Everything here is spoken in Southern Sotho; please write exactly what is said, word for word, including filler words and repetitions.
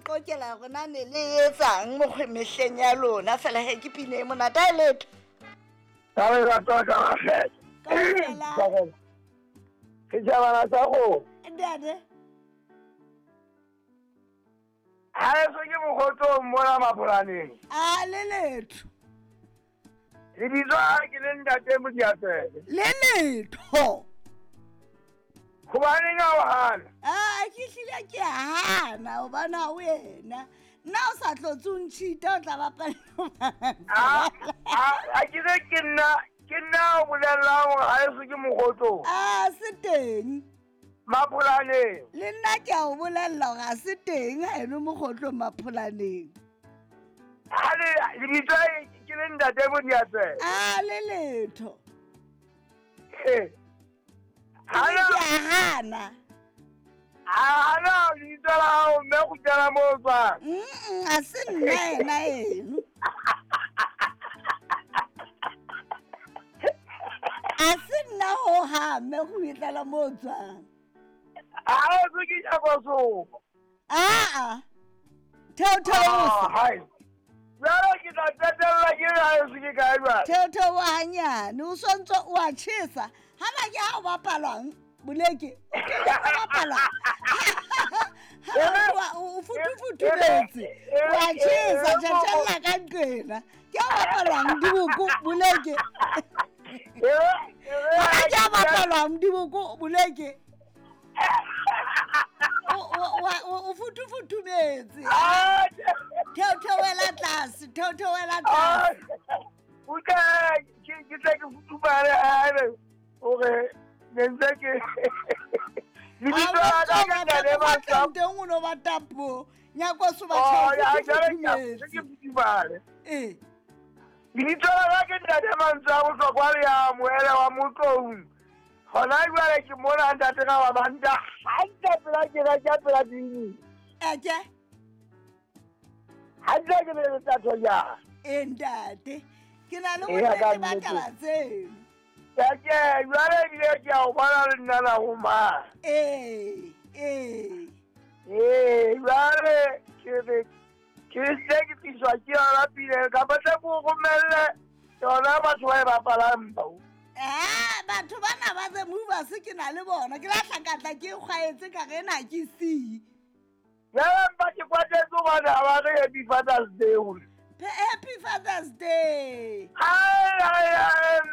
qokela gore na ne le etsang mokgwe mehleng ya lona fela he ke pine e monate a e letho. Ka re rata ka rafela. Kaofela. Setjhabana sa kgomo. Ntate. Ha eso ke mokgotsong mona Mapolaneng. A le letho. Lebitso ha ke le ntate Modiatsebe. Le letho. Hobaneng ha o hana? A ke hlile ke a hana hobane ha wena. Nna o sa tlotse o ntšhita o tla bapala. A a ke re ke nna ke nna o bolellang hore ha eso ke mokgotsong. A se teng. Mapolaneng. Le nna ke a o bolella hore ha se teng ha eno mokgotlong Mapolaneng. Ha le lebitso ke le ntate Modiatsebe. A le letho. Eh. Ke a hana. Ha na lebitso la hao mme kgutlela moo o tswang. Mm, ha se nna ena eno. A se nna ho ha mme kgutlela moo o tswang. Ha eso ke Nyakosomo. Aa. Theotheosa. Hai. Jwale ke tla qetella ke re ha eso ke kae jwale? Theotheoha hanyane, o sontso o a tjhesa. Hana ke ha o bapalwang, Boleke. O bapalwa. Ha o futufutumetse. O a tjhesa, tjhatjhella ka nqena. Ke ha o bapalwang diboko, Boleke. Ha ke ha o bapalwang diboko, Boleke. O o o futufutumetse. Theotheoela tlase, theotheoela tlase. Utlwa, ke ke tle ke futumale haebe hore ne ntse ke lebitso la ka ke ntate Mantswe. Teng o no ba tapo. Nyakoso ba Oh, ya jwale ke futumetse. ke futumale. Eh. Lebitso la ka ke ntate Mantswe a bohlokwa le ya moele wa Motloung. Hona jwale ke mona ntate ka wa banta hantle pela ke ra ke pela dini. Eke. Hantle ke le tatho ya. Eh ntate. Ke na le Eya, ka bonnete ba nnete. taba tseno. Ke ke jwale ebile ke a o bona le nna la ho mang. Eh, eh. Ee, jwale ke re ke se ke tliswa ke yona pina kapa tle ke o romelle yona batho ba e bapalang bao. Ah, batho bana ba The Movers ke na le bona. Ke la hlakatla ke kgwaetse ka re ena ke see. Jwale mpa ke kwatetse hobane ha ba re Happy Father's Day hore. Happy Father's Day. Ai, ai, ai,